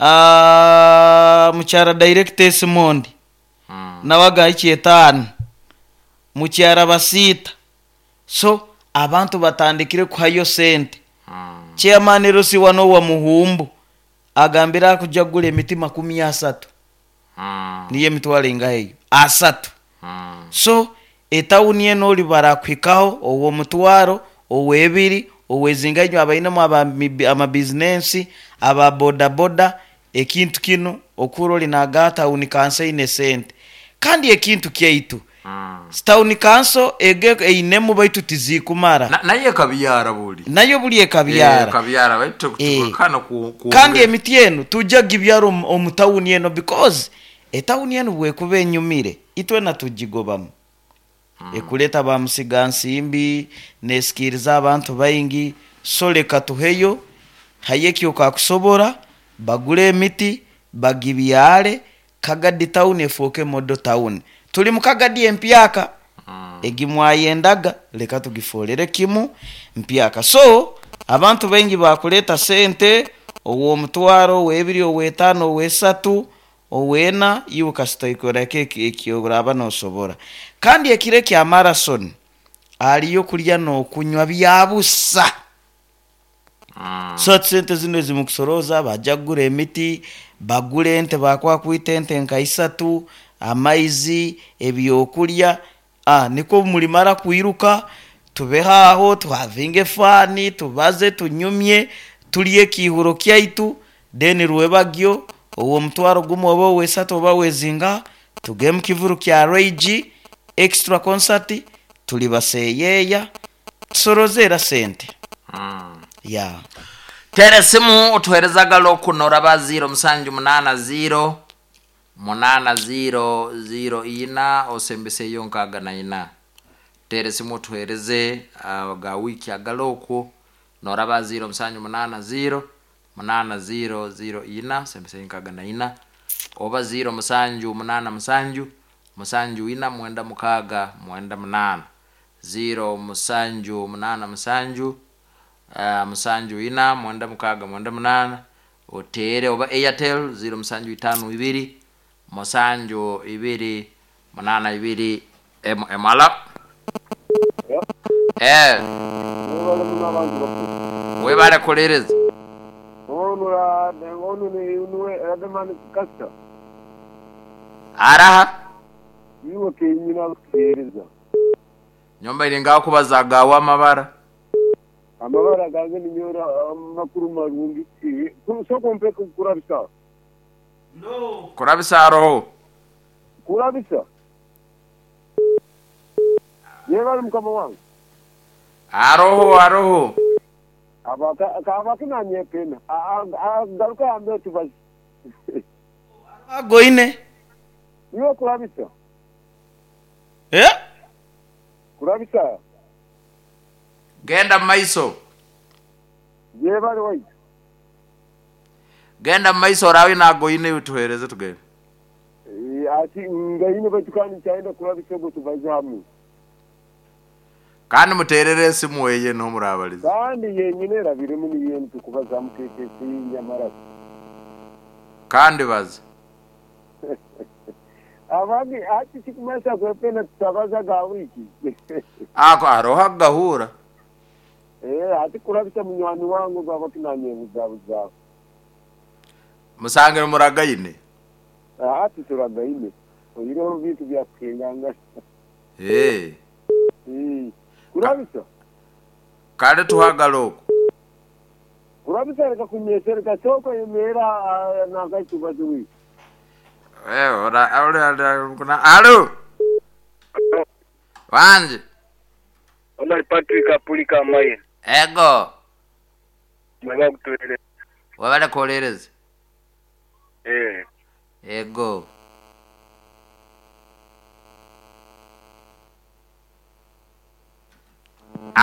Aah mukyara Director Esimondi nawe agahikya etaano, mukyara Basiita. So abantu batandikire kuhayo sente. Chairman Lucy wanu owa Muhumbu agambire akuja kugura emiti 30 niyo emitwaro engahi eyo? Asatu. So etawuni enu ori barakuhikaho ow'omutwaro, ow'ebiri, ow'ezinga inywe abainemu amabizinensi, aba bodaboda, ekintu kinu okuhurra ori nagamba tawuni kanso eine sente. Kandi ekintu kyaitu, tawuni kanso ego einemu baitu tizikumara. Nayo ekabyara buri. Nayo buri ekabyara. Ekabyara baitu tukana kwongera. Kandi emiti enu tujja kugibyara omu tawuni eno because etawuni enu bwekuba enyumire itwena tugigobamu. Ekuleta ba musigansimbi, nesikiiriza abantu baingi, so leka tuheyo, hayo eki okakusobora, bagule emiti, bagibyare, Kagadi town efooke model town. Tuli mu Kagadi empyaka, egi mwayendaga, leka tugifoolere kimu mpyaka. So, abantu baingi baakuleeta sente, ow'omutwaro, ow'ebiri, ow'etaano, ow'esatu, Owena iwe kasita oikora ki eki oraaba nosobora. Kandi ekiro ekya marathon hariyo okurya n'okunywa bya busa. So hati sente zinu ezi mukusorooza baja kugura emiti, bagure ente bakuha kwita ente nka isatu, amaizi, ebyokurya, nikwo obu murimara kwiruka tubeho aho tuhavinge faani, tubaze, tunyumye, turye ekiihuro kyaitu, then rwebagyo ow'omutwaro gumwe oba ow'esatu oba ow'ezingaha tugende omu kivuru kya Ray G Extra Concert turi baseyeeya tusorooze era sente. Yeah. Teera esimu otuheereze agalo noraba ziiro musanju munaana ziiro Munaana ziiro ziiro ina osembeseyo nkaaga na ina. Teera esimu otuheereze aga wiiki agari okwo nooraba ziiro musanju munaana ziiro munaana ziiro ziiro ina osembeseyo nkaaga na ina oba ziiro musanju munaana musanju musanju ina mwenda mukaaga mwenda munaana. Ziiro musanju munaana musanju musanju ina mwenda mukaaga mwenda munaana Oteere oba Airtel ziiro musanju itaanu ibiri musanju ibiri munaana ibiri emu emu. Alo? Eh. Mwebale muno abantu bakuru. Webale kuwuliriza. Onu niwe Elderman Kasita. Araha? Iwe kenyini arikutuheereza. Nyowe mbaire ngakubaza agaawe amabara. Amabara gange ninyowe amakuru marungi. Sooka ompe kurabisa. Kurabisa aroho? Kurabisa. Yebale mukama wange. Aroho aroho. Kabaki nanyepena. Garuka yambe tubaze. Agoine. Iwe kurabisa. Eh? Kurabisa. Genda mu maiso. Yebale waitu. Genda mu maiso oraabe naagoine iwe tuheereze tugende. Ati ngaine baitu kandi nkyayenda kurabisa ogwo tubaze hamwe. Kandi muteerere esimu eye niho muraabariza. Kandi yenyine erabiremu niyo enu tukubazamu KKC Nyamarasi. Kandi baza. Abandi hati tikumanyisa kwepena tutabaza ga wiiki. Ako haroho akugahuura. Ee, hati kurabisa munywani wange ogu aba tinanyebuzabuzaho. Musangire muragaine. Hati turagaine. Oihireho bintu bya kuhingangana. Ee. Ee, kurabisa. Kale tuhagale okwo. Kurabisa reka kunyesereka sooka oyemerere aha nanka ekibazo wiiki. Alo! Wangi. Omar Patrick Apuli Kamaire. Ego. Mwebale kutuhereza. Webale kuhuririza. Eeh. Ego.